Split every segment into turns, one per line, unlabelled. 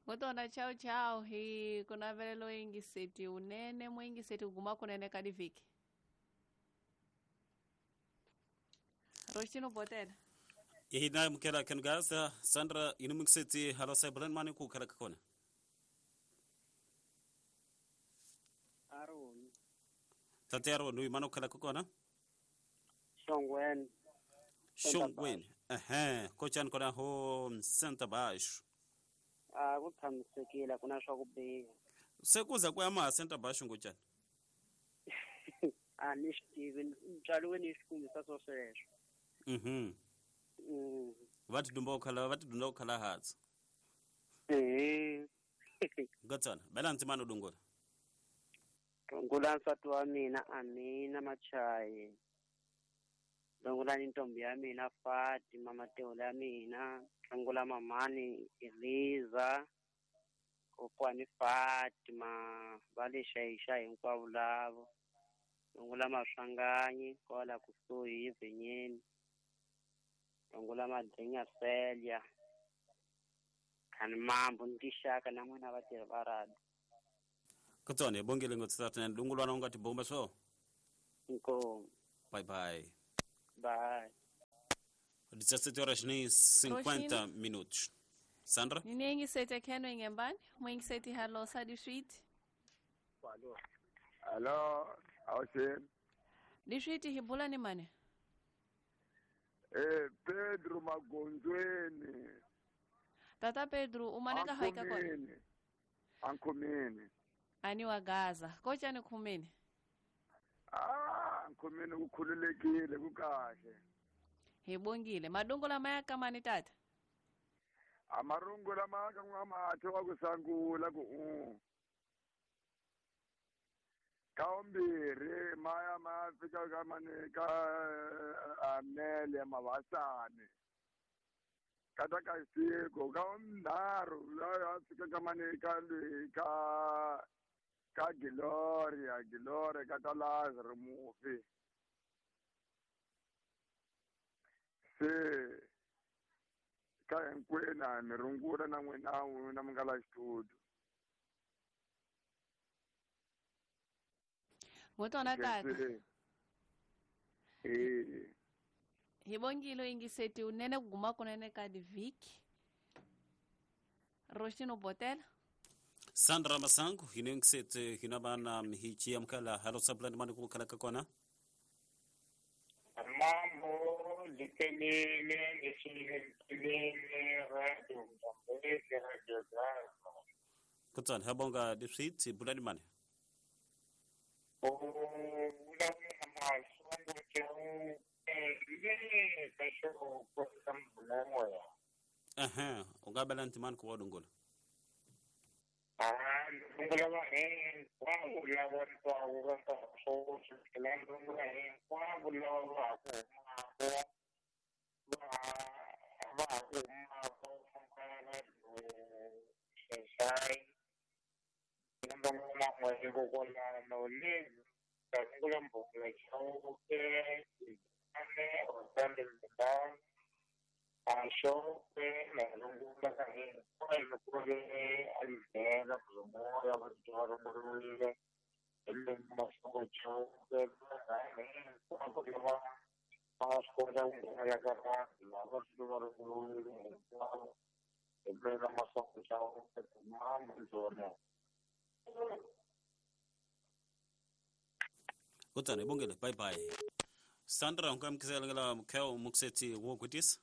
Ngotona chao chao hi kunavelelo yingiseti unene muyingiseti kuguma kunene ka divhiki. Rostino Botela.
Ihina mukela kengaza Sandra inumikiseti halo saibulani mani ku khala kona.
Aroni.
Tatero nui mano khala kona?
Shongweni.
Shongweni. Ehe, kochan kona ho Santa Baixo.
A ku tshamisekile kuna swa ku biha.
Se kuza ku ya ma Santa Baixo ngochani.
A ni swi tivi ntswalo ni swi kumisa swo sweswo.
Va tidumba khala va tidunda khala hatsi. Ngatsana, bela ntsimano dungola.
Rungula nsati wa mina Amina Machayi. Rungula ni ntombi ya mina Fatima Matewula ya mina. Rungula mamani Eliza. Kokwani Fatima va le xayixa hinkwavo lavo. Rungula Maswanganyi kwala kusuhi Vhenyeni. Rungula Madlinya Selya. Khani mambo ni tixaka na n'wina vatirhi va radio.
Kutsone bongile ngotsatana dungulwana ungati bomba so.
Inkomu.
Bye bye.
Bye.
17 horas nem 50 minutos. Sandra?
Ninengi sete keno ingembani? Mwingi halo sa district.
Hello, awusheni.
District hibula ni mane?
Pedro Magonzweni.
Tata Pedro, umaneka haika kona?
Ankhumini.
Ani wa Gaza. Kocha ni khumini?
Ah, nkhumini kukhululekile kukahle.
Hibongile. Madungu la maya kama ni tata?
Amarungu la maya kama mathe wa kusangula ku. Kaombiri maya mafika kama ni ka amele mavasane. Kata kasiko kaomndaru la fika kama ni ka ka ka Gloria Gloria kata Lazaro mufi. Se ka hinkwena mi rungula na n'wina na mi nga la xitudio.
Ngotona tata. Hibongile ingiseti unene kuguma kunene ka diviki. Rostino Botela.
Sandra Masangu hinengisete hinabana mhichi amkala halo sablani mani kukhala kona.
Mambo likelele leshilele radio Mzambezi radio Gaza.
Kutsana habonga district bulani mani. Aha, ungabela ntimani ku wadungola.
Ah, ndungula va hinkwavo lava ntwaku ka nkarhi sweswi ndungula hinkwavo lava va ha ku humaka va ha ku humaka radio Xaxai ndungula n'we kokwalano lezi ndungula Mbhongula Chauke ane Rosande Mbindani Ashoke na rungula ka hinkwavo ku ri alivhela kuzomoya va runguriwile Masongo Chauke hinkwavo lava va nga swi kota ku nghenela ka vanhu lava va runguriwile hinkwavo hi mina Masongo Chauke mama ndzona.
Kutsana bongile bye bye. Sandra ungamkisela ngala mkheo mukseti wokutisa.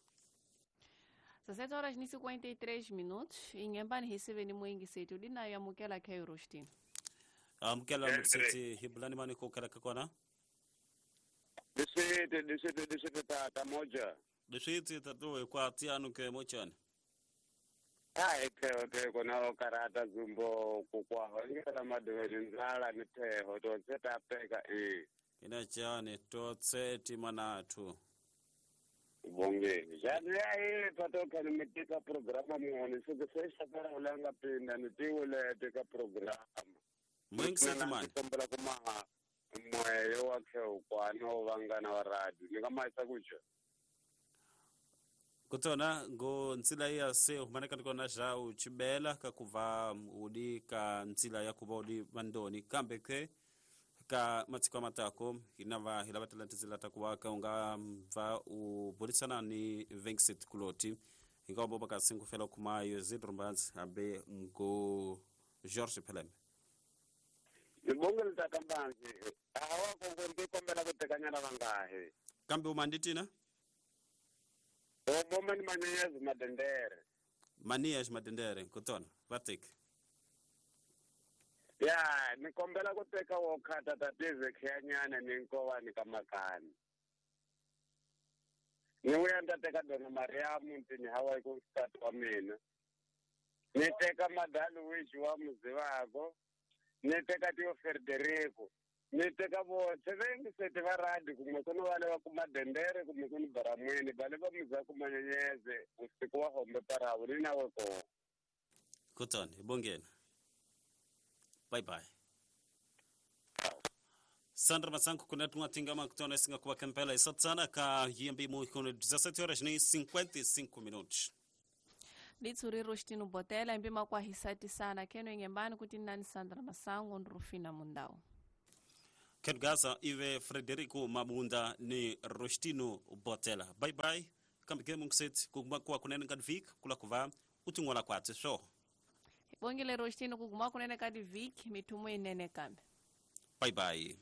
17 horas e 53 minutos. Ingembani recebeni muingiseti udina ya mukela khayo Rostino.
Amukela mukseti hibulani mani ko khala kona.
Disete tata moja.
Disete tatu kwa tianu ke mochani.
Ai theo kona karata zumbo kukwa ngela madweni nzala ni theo to tseta peka
Ina chane to tseti manathu.
Bonge. Jani ai patoka nimetika programa muone sikusexa kara ulanga pinda nitiwule tika programa.
Mwingiseti mani.
Kombela kuma mweyo wakhe ukwano vangana wa radio. Nikamaisa kucho.
Kutona ngo ntsila ya se humaneka ndikona ja uchibela kakuva udi ka ntsila ya kuva udi vandoni kambe ke ka matsiko matako inava hilavatela tintsila ta kuva ka unga va u burisana ni Vengset Kuloti hinga boba ka singu fela kumayo zidrumbanzi abe ngo George Peleme
Nibongele tata Mbanzi awa kongo ndi kombela ku tekanyana vangahi
kambe umanditina
oboma ni manyenyezi madendere
manias madendere kutona vatik
ya ni kombela ku teka wo khata tatize khiyanyana ni nkovani ka makani ni vuya ni ta teka dona Mariamu ntini hawa ku nsati wa mina ni teka Madaluwichi wa Muzivako ni teka Tio Federico ni teka voxe vengiseti va radi kumbe ku ni vale va kuma dendere kumbe ku ni baramwini vale va muzaku manyenyeze usiku wa hombe parawu ni nawe kona
kutona ibongena bye bye Sandra Masango kuna tungatingama kutona singa kuwa kempela isatsana ka yembi mu kono 17 horas nem 55 minutos
Litsuri Rostino Botela imbi makwahisati sana keno ingembani kuti nani Sandra Masango ndrufina mundau
Ken Gaza ive Frederico Mabunda ni Rostino Botela bye bye kambe ke mungset kuguma kwa kunene kadvik kula kuva utingola kwatse so
Bongile Rostino kuguma kunene kadivik mitumo inene kambe
bye bye.